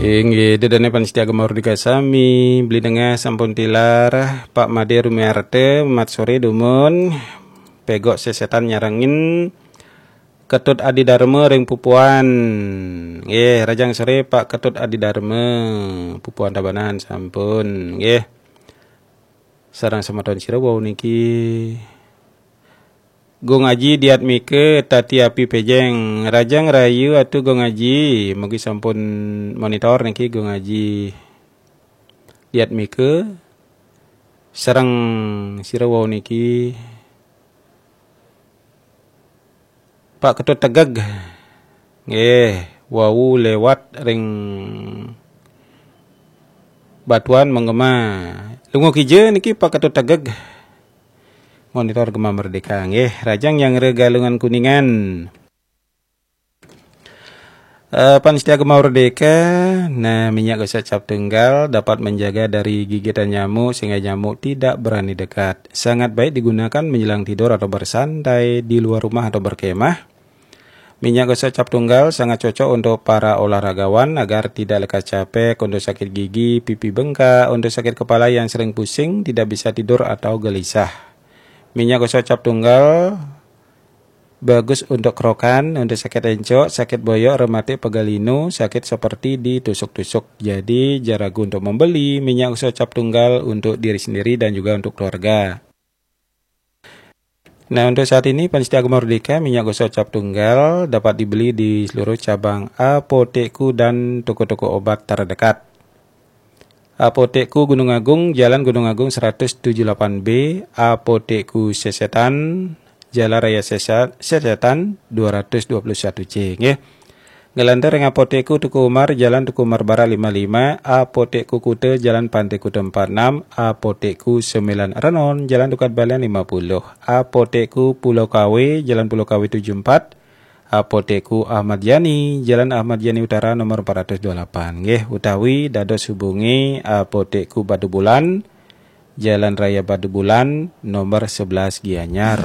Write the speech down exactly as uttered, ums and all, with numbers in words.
Inggih, dedene pamiarsa Gema Merdeka sami, beli dengah sampun tilar, Pak Made Rumiarte, mat sore dumun, pegok sesetan nyarengin, Ketut Adi Dharma ring Pupuan. Nggih, rahajeng sore Pak Ketut Adi Dharma, Pupuan Tabanan sampun, nggih. Sareng semeton sira wau niki. Gung Aji Diatmika Tati Api Pejeng, rahajeng rahayu Atu Gung Aji, mugi sampun monitor niki Gung Aji Diatmika sareng sira wau niki. Pak Ketut Tegeg. Nggih, wau lewat ring Batuan Menggema. Lunga kija niki Pak Ketut Tegeg. Monitor Gema Merdeka nggih, rahajeng Nyanggra Galungan Kuningan. Eh, pamiarsa Gema Merdeka, nah, minyak gosok cap tunggal dapat menjaga dari gigitan nyamuk sehingga nyamuk tidak berani dekat. Sangat baik digunakan menjelang tidur atau bersantai di luar rumah atau berkemah. Minyak gosok cap tunggal sangat cocok untuk para olahragawan agar tidak lekas capek, untuk sakit gigi, pipi bengkak, untuk sakit kepala yang sering pusing, tidak bisa tidur atau gelisah. Minyak gosok cap tunggal bagus untuk kerokan, untuk sakit encok, sakit boyok, rematik, pegal linu, sakit seperti ditusuk-tusuk. Jadi, jangan ragu untuk membeli minyak gosok cap tunggal untuk diri sendiri dan juga untuk keluarga. Nah, untuk saat ini, pamiarsa Gema Merdeka, minyak gosok cap tunggal dapat dibeli di seluruh cabang Apotekku dan toko-toko obat terdekat. Apotekku Gunung Agung, Jalan Gunung Agung seratus tujuh delapan B, Apotekku Sesetan, Jalan Raya Sesa-, Sesetan dua ratus dua puluh satu C, nggih. Nglantur ring Apotekku Teuku Umar, Jalan Teuku Umar Barat lima lima, Apotekku Kuta, Jalan Pantai Kuta empat enam, Apotekku Sembilan Renon, Jalan Tukad Balian lima puluh, Apotekku Pulau Kawe, Jalan Pulau Kawe tujuh empat, Apotekku Ahmad Yani, Jalan Ahmad Yani Utara nomor empat ratus dua puluh delapan, nggih, utawi dados hubungi Apotekku Batu Bulan, Jalan Raya Batu Bulan nomor sebelas Gianyar.